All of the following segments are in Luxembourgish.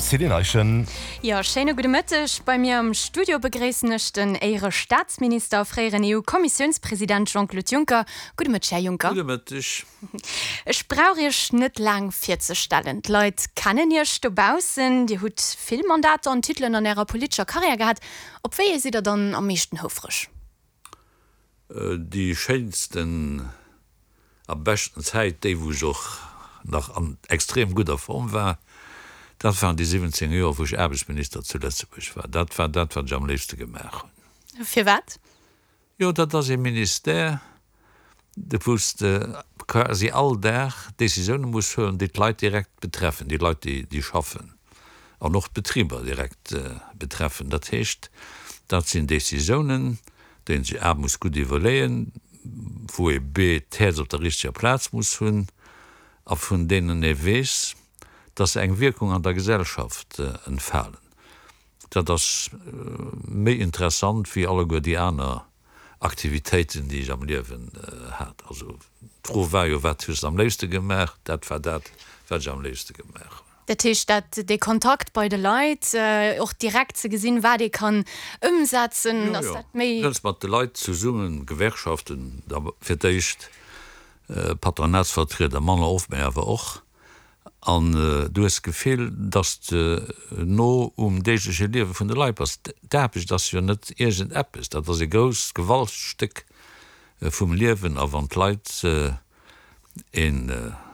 Céline Eischen. Jo, schéine gudde Mëtteg. Bei mir am Studio begréissen ech den Éierestaatsminister a fréieren EU-Kommissiounspresident Jean-Claude Juncker. Gudde Mëtteg, Här Juncker. Gudde Mëtteg. Ech brauch Iech net laang virzestellen. D'Leit kennen Iech dobaussen. Dir hutt vill Mandater an Titelen an Ärer politescher Karriär gehat. Op wéi ee sidd Der dann am meeschten houfreg? Déi schéinsten a beschten Zäit, déi wou ech och nach an extrem gudder Form war, dat waren déi 17 Joer wou ech Aarbechtsminister zu Lëtzebuerg war. Dat war dat wat ech am léifste gemaach hunn. Firwat? Jo, dat ass ee Ministère, wou s de quasi all Dag Décisioune muss huelen, déi d'Leit direkt betreffen, déi Leit déi schaffen an och d'Betriber direkt betreffen. Dat heescht, dat sinn Décisiounen, déi een sech a muss gutt iwwerleeën, wou ee b d'Häerz op der richteger Plaz muss hunn a vun deenen ee weess, dass se eng Wierkung an der Gesellschaft entfalen. Dat ass méi interessant wéi alleguer déi aner Aktivitéiten, déi ech am Liewen hat. Also d'Fro war jo, Wat hues de am léifste gemaach? Dat war dat, wat ech am léifste gemaach hunn. Dat heescht, dat dee Kontakt bei de Leit, och direkt ze gesinn, wat ee kann ëmsetzen, ass dat méi. Jo, jo, mat de Leit zesummen, Gewerkschaften da fir d'éischt, Patronatsvertrieder manner oft, mä awer och. An du hues d'Gefill, datt s de no um deegleche Liewe vun de Leit bass. D'Aarbecht ass jo net iergendeppes, dat ass e grousst Gewaltstéck vum Liewen. A wann d'Leit e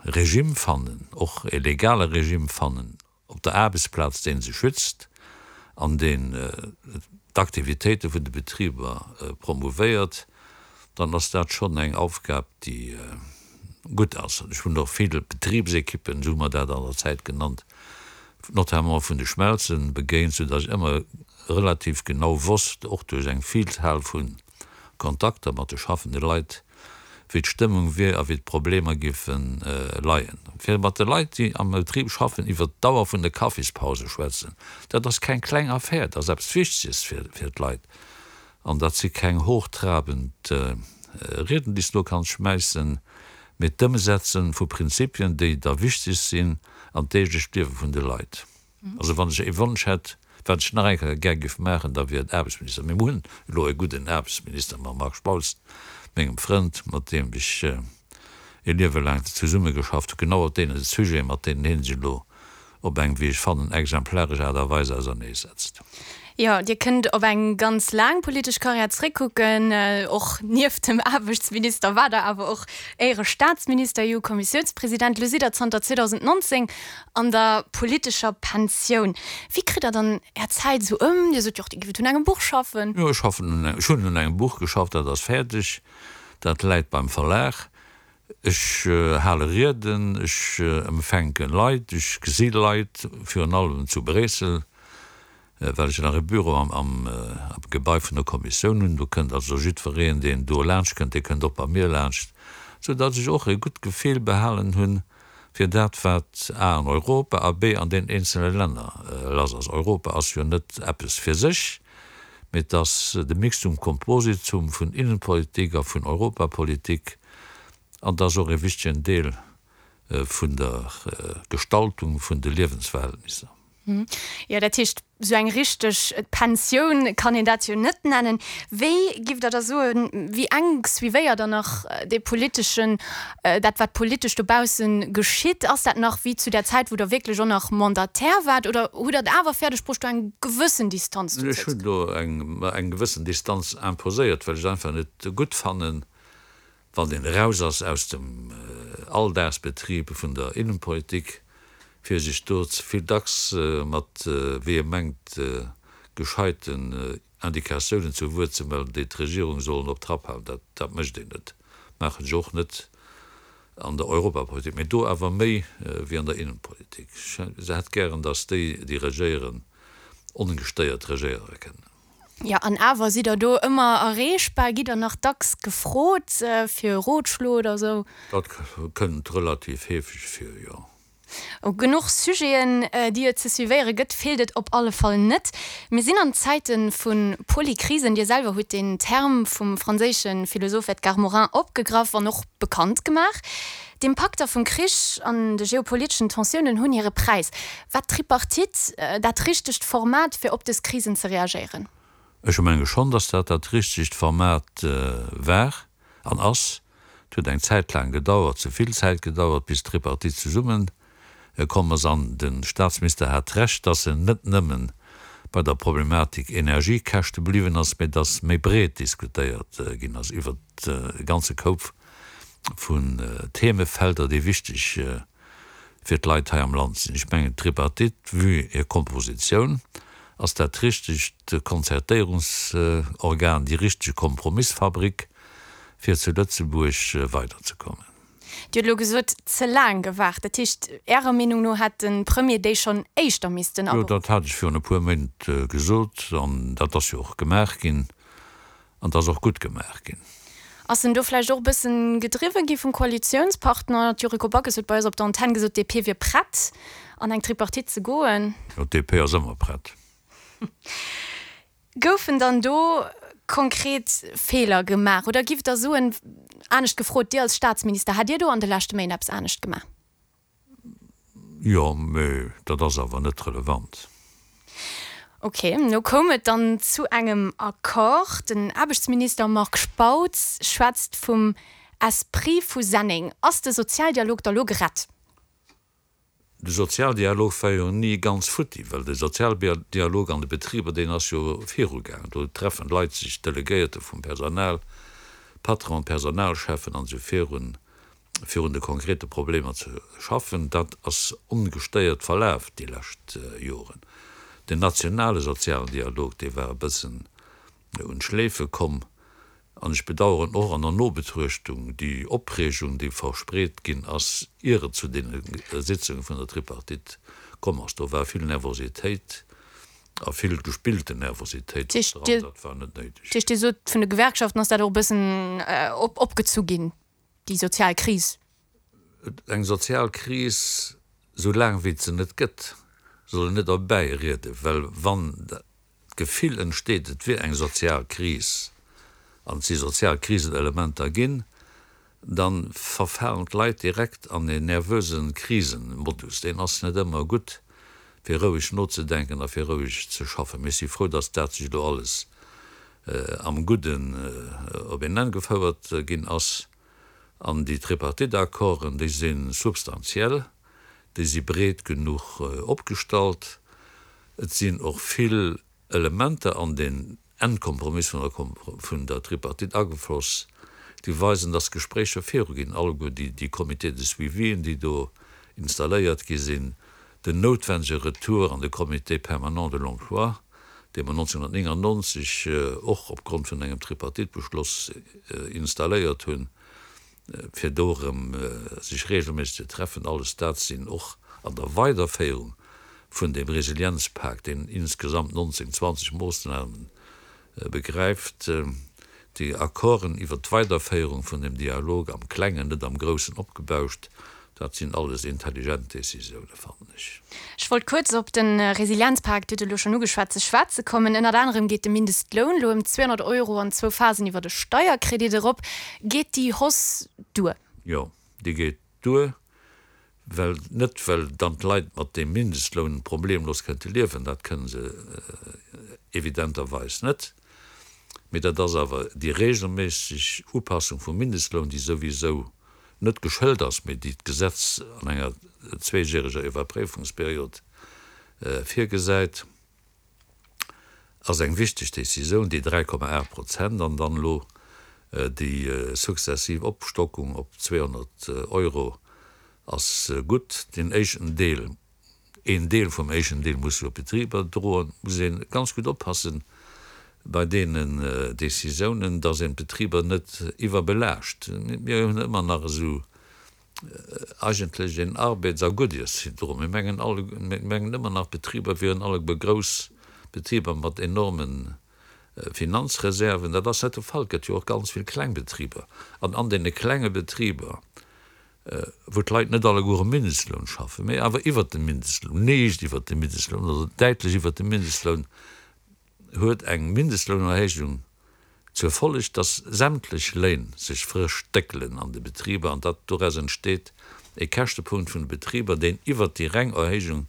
Regime fannen, och e legale Regime fannen op der Aarbechtsplaz, dee se schützt an deen d'Aktivitéite vun de Betriber promouvéiert, dann ass dat schonn eng Aufgab, déi gutt ass. Ech hunn och vill Betribsekippen, esou hu mer dat an der Zäit genannt, notamment vun de Schmelzen begéint, soudatt ech ëmmer relativ genau wosst, och duerch eng Vielzahl vu Kontakter mat de schaffende Leit, wéi d'Stëmmung wier a wéi d'Problemer géife leien. Fir mat de Leit, déi am Betrib schaffen, iwwert d'Dauer vun de Kaffispause schwätzen, dat ass keng kleng Affär, dat ass eppes Wichteges fir d'Leit. An dat si keng hochtrabend Rieden, déi s de do kanns schmäissen, mee d'Ëmsetze vu Prinzipien, déi da wichteg sinn an d'deeglecht Liewe vun de Leit. Also wann ech ee Wonsch hätt, wat ech nach eng Kéier gär géif maachen, da wier et Aarbechtsminister. Mee mir hunn elo e gudden Aarbechtsminister mam Marc Spautz, mengem Frënd, mat deem ech e Liewe laang zesummegeschafft hunn, genau op deene Sujeten, mat deenen hie sech elo op eng, wéi ech fannen, exemplaresch Aart a Weis auserneesetzt. Jo, Dir kënnt op eng ganz laang politesch Karriär zréckkucken. Och nieft dem Aarbechtsminister waart Der awer och Éierestaatsminister, EU-Kommissiounspresident. Elo sidd Der zanter 2019 an der politescher Pensioun. Wéi kritt Der dann Är Zäit esou ëm? Dir sot jo och, Dir giff un engem Buch schaffen. Jo, ech schaffen un engem, ech hunn un engem Buch geschafft, dat ass fäerdeg, dat läit beim Verlag. Ech hale Rieden, ech empfänke Leit, ech gesi Leit, virun allem zu Bréissel, well ech nach e Büro am Gebai vun der Kommissioun hunn. Do kënnt also jiddwereen, deen do laanscht kënnt, dee kënnt och bei mir laanscht, soudatt ech och e gutt Gefill behalen hunn fir dat, wat a an Europa a b an den eenzele Länner lass ass. Europa ass jo net eppes fir sech, mee et ass de Mixtum compositum vun Innenpolitik a vun Europapolitik an et ass och e wichtegen Deel vun der Gestaltung vun de Liewensverhältnisser. Jo, dat heescht, esou eng richteg Pensioun kann een dat jo net nennen. Wéi giff Der da soen, wéi enk suivéiert Der nach dee politeschen, dat wat politesch dobausse geschitt? Ass dat nach wéi zu där Zäit, wou Der wierklech och nach Mandataire waart, oder hutt Der et awer fäerdeg bruecht, do eng gewëssen Distanz dozou ze Ech hunn do eng eng gewëssen Distanz imposéiert, well ech et einfach net gutt fannen, Wann een eraus ass aus dem Alldagsbetrib vun der Innenpolitik, fir sech do ze vill dacks mat, wéi e mengt, gescheiten Indikatiounen zu Wuert ze mellen, déi d'Regierung sollen op Trapp halen. Dat, dat mécht een net, maachen ech och net an der Europapolitik, mee do awer méi wéi an der Innenpolitik. Ech hätt gären, datt déi, déi regéieren, ongestéiert regéiere kënnen. Jo, an awer sidd der do ëmmer erreechbar? Gitt der nach dacks gefrot fir e Rotschlo oder esou? Dat kënnt relativ heefeg vir, jo. Genuch Sujeten, déi et ze suivéiere gëtt, feelt et op alle Fall net. Mir sinn an Zäite vu Polykrisen. Dir selwer hutt deen Term vum franséische Philosoph Edgar Morin opgegraff an och bekannt gemaach. D'Impakter vum Krich an de geopoliteschen Tensiounen hunn hire Präis. War d'Tripartite dat richtegt Format, fir op dës Krisen ze reagéieren? Ech menge schonn, datt dat dat richtegt Format war an ass. Et huet eng Zäit laang gedauert, ze vill Zäit gedauert, bis d'Tripartite zesumme komm ass. An de Staatsminister hat Recht, datt en net nëmme bei der Problematik Energiekäschte bliwwen ass, mä datt méi breet diskutéiert ginn ass iwwert e ganze Koup vun Themefelder, déi wichteg fir d'Leit hei am Land sinn. Ech mengen, d'Tripartite, vue hir Kompositioun, ass dat richtegt Konzertéierungsorgan, déi richteg Kompromissfabrik, fir zu Lëtzebuerg weiderzekommen. Dir hutt elo gesot, ze laang gewaart. Dat heescht, Ärer Meenung no hätt de Premier déi schonn éischter missten aberuffen? Jo, dat hat ech virun e puer Méint gesot an dat ass jo och gemaach ginn. An 't ass och gutt gemaach ginn. Ass en do vläicht och e bëssen gedriwwe gi vum Koalitiounspartner? D'Yuriko Backes huet bei eis op der Antenn gesot, d'DP wier prett, an eng Tripartite ze goen. Jo, d'DP ass ëmmer prett. Goufen dann do konkret Feeler gemaach? Oder giff Der soen, anescht gefrot, Dir als Staatsminister, hätt Dir do an de leschte Méint eppes anescht gemaach? Jo, mee dat ass awer net relevant. Ok, lo koum et dann zu engem Accord. Den Aarbechtsminister Marc Spautz schwätzt vum Esprit vu Senneng. Ass de Sozialdialog da lo gerett? De Sozialdialog war jo ni ganz futti, well de Sozialdialog an de Betriber, deen ass jo virugaangen. Do treffen d'Leit sech, d'Delegéierte vum Personal, d'Patronen, d'Personalcheffen an esou virun, fir un de konkrete Problemer ze schaffen, dat ass ongestéiert verlaf déi lescht Joren. Den nationale sozialen Dialog, dee war e bëssen un d'Schleefe komm. An ech bedauern och an der Nobetruechtung déi Opreegung, déi verspreet ginn ass, ier et zu deene Sitzunge vun der Tripartite komm ass. Do war vill Nervositéit a vill gespillte Nervositéit dran. Dat war net néideg. Dat heescht, Dir sot, vun de Gewerkschaften ass dat och e bëssen opgezu ginn? Déi sozial Kris. Eng sozial Kris, sou laang wéi et se net gëtt, soll een net erbäi rieden, well wann d'Gefill entsteet, et wier eng sozial Kris an et si sozial Krisenelementer ginn, da verfalen d'Leit direkt an een nervöse Krisenmodus. Deen ass net ëmmer gutt, fir roueg nozedenken a fir roueg ze schaffen. Mee ech si frou, datt dat sech elo alles am Gudden op een Enn gefouert ginn ass. An déi Tripartite-Accorden, déi si substantiell, déi si breet genuch opgestallt. Et sinn och vill Elementer an deen Endkompromiss vun der Tripartite agefloss, déi weisen, dass d'Gespréicher viruginn, alleguer déi Comités de suivien, déi do installéiert gi sinn, den noutwendege Retour an de Comité permanent de l'emploi, dee mer 1999 och opgrond vun engem Tripartite-Beschloss installéiert hunn, fir do erëm sech regelméisseg ze treffen, alles dat sinn och an der Weiderféierung vun deem Resilienzpak, deen insgesamt 19, 20 Moossnamen begräift, déi Accorden iwwert d'Weiderféierung vun dem Dialog am Klengen, net am Groussen opgebauscht, dat sinn alles intelligent Décisiounen, fannen ech. Ech wollt kuerz op de Resilienzpak, Dir hutt et elo schonn ugeschwat, ze schwätze kommen. Ënnert anerem geet de Mindestloun elo ëm 200 Euro an zwou Phasen iwwer e Steierkredit erop. Geet déi Hausse duer? Jo, déi geet duer. Well, net well dann d'Leit mat deem Mindestloun problemlos kënnte liewen, dat kënne se evidenterweis net, mee dat ass awer déi regelméisseg Upassung vum Mindestloun, déi souwisou net geschëlt ass, mee déi d'Gesetz an enger zweejäreger Iwwerpréifungsperiod virgesäit. Ass eng wichteg Décisioun, déi 3,8 Prozent an dann elo déi sukzessiv Opstockung op 200 Euro ass gutt. Deen éischten Deel, een Deel vum éischten Deel muss jo d'Betriber droen. Muss ee ganz gutt oppassen bei deenen Décisiounen, dass een d'Betriber net iwwerbelaascht. Mir hunn ëmmer nach esou eigentlech een Arbeits a Guddiersyndrom. Mir mengen alle, mir mengen ëmmer nach, d'Betriber wieren alleguer grouss Betriber mat enorme Finanzreserven. Dat ass net de Fall. Et gëtt jo och ganz vill kleng Betriber. An an deene klenge Betriber. wou d'Leit net alleguer um Mindestloun schaffen, mee awer iwwert dem Mindestloun, liicht iwwert dem Mindestloun oder däitlech iwwert dem Mindestloun, huet eng Mindestlounerhéijung zur Folleg, dass sämtlech Léin sech frësch déckelen an de Betriber an datt doraus entsteet e Käschtepunkt vun de Betriber, deen iwwert déi reng Erhéijung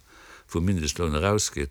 vum Mindestloun erausgeet.